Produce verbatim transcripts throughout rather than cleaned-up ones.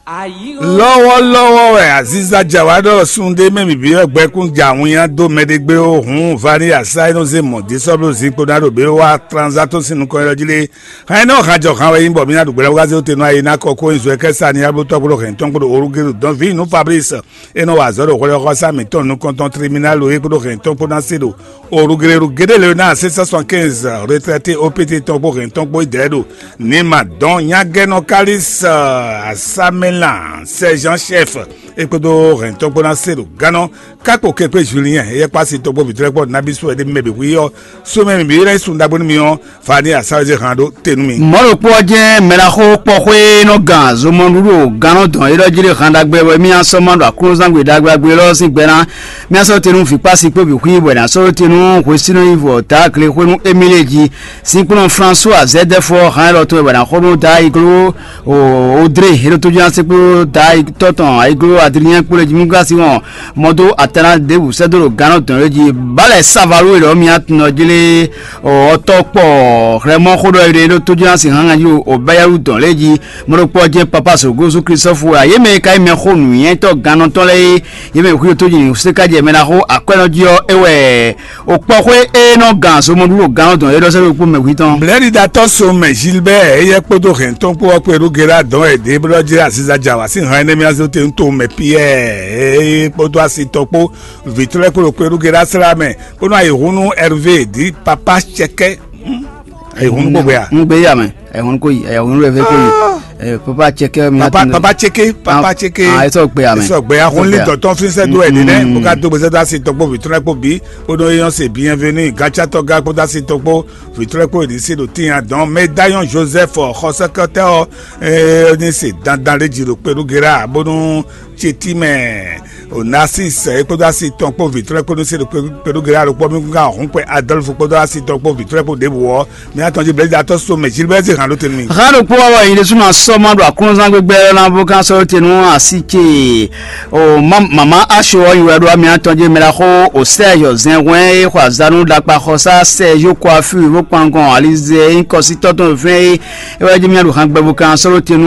Lɔwɔlɔwɔ wɛ Aziza Jawada ɖɔ sunɖé mɛ mǐ byɔ́ gbɛkún ja winnyá dó mɛɖé gbé ó hǔn, Vani Asa e nɔ zé mɔ̌ dé sɔ́ bló zinkpo ná ɖo bě wá transato sín nukɔn élɔ́ jí lé. Hɛn nɔ hajɔ han wɛ nyí bɔ mí ná ɖu gbɛɖɛ wá zé te nú ayi ná kɔ kó nyi zɔɛ kɛ́ sa ní abló tɔ́ kpló hɛn tɔn kpló orúgélu dɔn ví nú Fabrice e nɔ wa azɔ̌ ɖo hwɛɖɔxɔsá mǐtɔn nukɔntɔn tribunal e kpló hɛn tɔn kpló ná se ɖo Orugleru géɖé lě ná six cent soixante-quinze retraité O P T tɔn kpó hɛn tɔn kpó yi dɛ̌ ɖo ní ma dɔn nyagɛnɔ Kalis Asamɛlan sɛ́ Jean chef é kpódó hɛn tɔn kpó ná se ɖo gannɔ kákpo kɛkpé Julien éyɛ́ kpá si tɔn kpó vǐtrɛ́kpɔ́ nabí sú ɛɖé mɛ bǐ xwí ɔ́ sú mɛ mǐ lɛ́ sun ɖagbe nú mi ɔ́ Fani Asawézé han ɖó te nú mi. Mɔ̌ ɖokpó ɔ́ jɛ́n mɛɖaxó kpɔxwé nɔ gǎn zomɔɖuɖu gannɔ dɔn é ɖɔ jí ɖe han ɖagbe wɛ mí asɔ́ ma ɖo aklúnɔzán gbe ɖagbe ɖagbe élɔ́ sín gbɛ ná. Mía sɔ́ te nú vǐ kpási kpó bǐ xwí bɔ è nǎ sɔ́ te nú hwesínɔ nyí vɔ Dagle xwé nú Emile jí. Sínkplɔ́n François Zɛdɛfɔ hán élɔ́ tɔn e bɔ è nǎ xɔ nú Daiglo Odré é ɖo tójúná sí kpó Daitɔ tɔn Aiglo Adrien kpó lé jí mú gásí wɔn mɔ dó atana ɖěbǔ sɛ́ dó ɖo gannɔ dɔn é jí. Bálɛ Savalu e ɖɔ mía tunɔ jí lé ɔtɔkpɔ hlɛmɔ xó ɖɔ é ɖo tójúná sí hán ganjí o Báyálu dɔn lé jí. Mɔɖokpɔ jɛ papa sǒgósú Klistɔfu wɛ a yě mɛ e ka nyí mɛxó nǔnywɛ́tɔ́ gannɔ tɔn lɛ́ɛ é. Yě mɛ hwí tó nyi nǔsúkájɛ mɛ ná xó akwɛ́nɔ jí ɔ́ é wɛ o kpɔxwé e nɔ gǎn zomɔɖuɖu gannɔ dɔn é ɖɔ sɛ́ ɖokpó mɛ hwí tɔn. Blɛ̌ɖiɖatɔ́ so mɛ Gilbert éyɛ́ kpódó hɛn tɔn kpó ɔ́ kpé ɖó Gera dɔn wɛ ɖě bó ɖɔ jɛ aziza jɛ awǎ sín han énɛ́ mì azɔ́ tɛ́nú to mɛ Piyɛ́ɛ é kpódó asi tɔn kpó vǐtrɔ́ kpó ɖo kpé ɖó Gera slá mɛ bónú ayǐhúnú Ɛrvé ɖi papá cɛkɛ́. Ayǐhúnú kpó gbé a? Ń gbé yà mɛ. Ɛhun ko yi, ɛhun wɛ fɛ ko yi. Ɛ, papa cɛkɛ mi papa tun papa ceke papa ceke ah, esɔ gbe amɛ. Esɔ gbe ahun li dɔtɔn fi sɛ do ɛdi nɛ mo ka do gbèsè do asi tɔgbo vitrɛ kpo bi kpodo eyɔn se bienvenu gatsatɔ ga kpodo asi tɔgbo vitrɛ kpo edi si do tinya dɔn mɛ dayɔn joseph xɔsɛkɛtɛ ɔ ɛ ni se dandan le dzi do kpeɖu gera bonu tsetimɛ Onasis é kpódó asi tɔn kpó vǐtrɔ́ kpódó se kpódó gérá ɖokpó mí kún ká hɔn kpɛ Adɔlfu kpódó asi tɔn kpó vǐtrɔ́ kpó ɖěbǔ ɔ́ mí atɔn jí blɛ́ atɔ́ so mɛ Gilbert hàn ɖó tenu mì. Hã ɖokpó wá wɔ yi ɖésú nɔ sɔ́ ma ɖo aklúnzán gbígbɛ ɔ́ ná bó ká sɔ́ ɖó tenu asi ce o mama aṣọ ɔ́ yi wɛ ɖó ami atɔn jí mɛ ɖaxó o Serge zɛnhwɛn e xɔ azanu ɖakpa xɔsá Serge kɔ afi bó kpɔn gɔn alize nyí kɔsítɔ́ tɔn fɛn é é wɛ jí mía ɖo han gbɛ bó ká sɔ́ ɖó tenu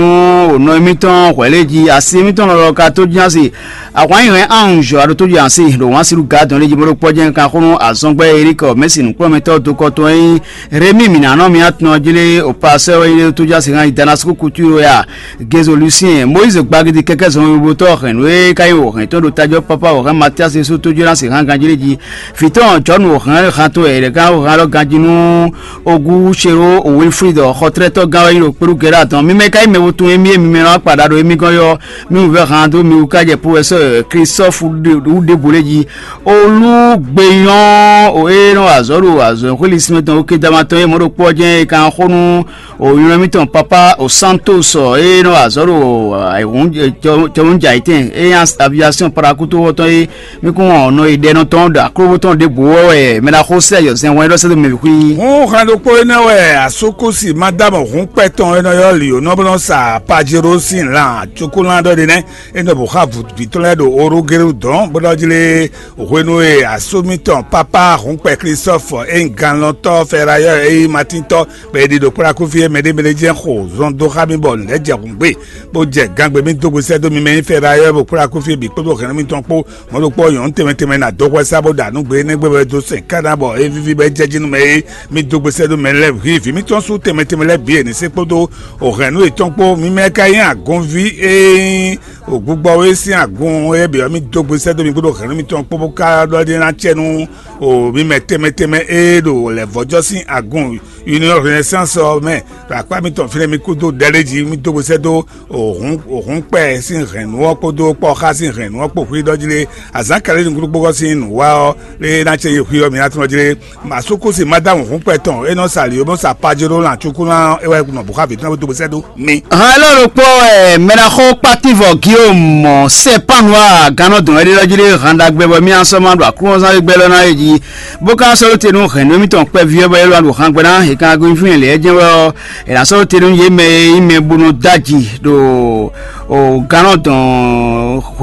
o nɔ émítɔn hwɛ̌ lé jí asi émítɔn lɔlɔ ka tó jí asi Ahwan nyi hɛn anzɔ aɖótó jí asi ɖo wǎn síɖú ga dɔn lé jí bó ɖo kpɔ́ jɛ́n kanxónú azɔngbɛ́ Erika mɛ̌si nǔkplɔ́nmɛtɔ́ dokɔ tɔn e nyí Remi mǐnánɔ mì atɔn jí lé opasɛ wɛ nyí tó jí asi hán yi Damasku kutu ya Gezo Lucien Moyize gbagidi kɛkɛ zɔn yobotɔ hɛn nǔ e ka nyí wǒ hɛn tɔn ɖo tajɔ papa wǒ hɛn Matiasi sú tó jí asi hán ganjí lé jí fǐtɔn Jɔnu wǒ hɛn hán tó yɛ ɖeka wǒ hɛn alɔ ganjí nú Ogu Shero Wilfrid xɔtrɛtɔ gán wɛ nyí ɖo kpéɖu gɛ́ɖá tɔn mímɛ́ ka nyí mɛ wuntun émí e mi mɛ nɔ akpa ɖa ɖo émí gɔ́n yɔ mí wǔvɛ́ han dó mi wú ká jɛ Pwofɛsɔ́ Klistɔ́fu wú ɖěbǔ lɛ́ɛ jí. Olú gbe nyɔ́ o é nɔ wa azɔ̌ ɖo azɔ̌xwéli sinmɛ tɔn okédama tɔn e mɔ̌ ɖokpó ɔ́ jɛ́n è kan xó nú o nylɔ́ mítɔn Papa o Santos e nɔ wa azɔ̌ ɖo ayǐhún jɔhúnjɛ ayǐtɛn e nyí aviation parakuto ɔ́ tɔn é mí kún wɔn nɔ yi ɖɛ nɔ tɔn ɖo aklóbó tɔn ɖěbǔ ɔ́ wɛ mɛ ɖaxó sɛ yɔ̌zɛn hwɛn ɖɔ sɛ́ dó mɛ bǐ xwí. Hǔn hɛn ɖokpó énɛ́ wɛ asúkúsi Madamu hǔn kpɛtɔn e nɔ ylɔ́ Lio nɔ́ bó nɔ́ sa Pajero sín lan cukúlan ɖɔ ɖe nɛ́. É nɔ bǔ xá vǐ tɔn lɛ́ɛ ɖo Orogelu dɔn bó ɖɔ jlé hwenu e asú mitɔn pápá hǔnkpɛ Klistɔ́fɔ e nyí ganlɔntɔ́ Fɛrayɔ́ e nyí Matíntɔ́ bɔ è ɖi ɖo kplá kúfí e mɛɖé mɛɖé jɛ́n xo zɔn dó xá mì bɔ nǔ lɛ́ jɛ hǔngbé bó jɛ gangbe mì dó gbe sɛ́ dó mi mɛ nyí Fɛrayɔ́ bó kplá kúfí bǐ kpódó hɛ̌nnu mitɔn kpó. Mɔ̌ ɖokpó ɔ́ nyɔ̌nu tɛnmɛ tɛnmɛ ná dó hwɛsá bó ɖa nǔ gbe énɛ́ gbe wɛ dó sɛn káná bɔ é víví bɔ é jɛ jí nú mɛ e mì dó gbe sɛ́ dó mɛ lɛ́ɛ hwǐ vǐ mítɔn sú tɛnmɛ tɛnmɛ lɛ́ɛ bǐ e ní se kpódó hɛ̌nnu yětɔn kpó. Mi mɛ ka nyí agɔnví e nyí ògbugbɔwé sín agun e bǐ ɔ́, mì dó gbe sɛ́ dó mi kpódó hɛ̌nnu mitɔn kpó bó ka ɖɔ ɖé ná cɛ nú o mi mɛ tɛnmɛ tɛnmɛ e ɖo lɛ̌vɔ́jɔ́ sín agun Union Renaissance ɔ́ mɛ ɖo akpá mitɔn fínɛ́ mi kúdó ɖɛlé jí mì dó gbe sɛ́ dó òhún òhún kpɛ sín hɛ̌nnu ɔ́ kpódó kpɔ́xá sín hɛ̌nnu ɔ́ kpo xwí ɖɔ jí lé azǎn kɛlɛ́ ní gúdo kpókɔ sín nǔwa ɔ́ lé ná cɛ yi xwí ɔ́ mi ná tlɔ́ jí lé. Masukusi Madamu hǔnkpɛ tɔn e nɔ sa ali e bó sa Pajero lan cukúlan é wɛ nɔ bǔ xá vǐtɔ́ bó dó sɛ́ dó mi. Hàn élɔ́ ɖokpó wɛ mɛɖaxó kpátivɔ Guillaume Sɛpanua gannɔ dɔn ɛɖé lɔ jí ɖé hàn ɖagbe bɔ mí asɔ ma ɖo aklúnɔzán gbɛ lɔ ná é jí bó ka sɔ́ te nú hɛ̌nnu émítɔn kpɛví ɔ́ bɔ é lɔ ɖo hàn gbɛ ná é ka gɔ́ fún yɛn lě é jɛ́n wɛ ɔ́ è nǎ sɔ́ te nú yě mɛ e nyí mɛ bónú dó aji ɖo gannɔ dɔn